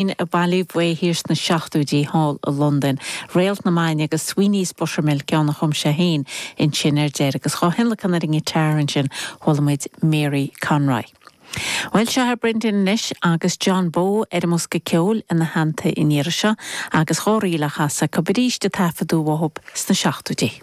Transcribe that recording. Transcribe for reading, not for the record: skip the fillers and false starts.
A bailíodh uaidh thiar sna seachtóidí thall i Londain. Réalt na Maidine agus Sweeney's Buttermilk, ceann a chum sé féin ansin ar deireadh. Agus dhá thionlacan ar an ngiotár ansin, chuala muid Mary Conroy. Bhuel, seo é Brendan anois agus John Bowe ar an mbosca ceoil ina theannta an iarraidh seo agus dhá ríl á chasadh acu arís a taifeadadh uathu sna seachtóidí.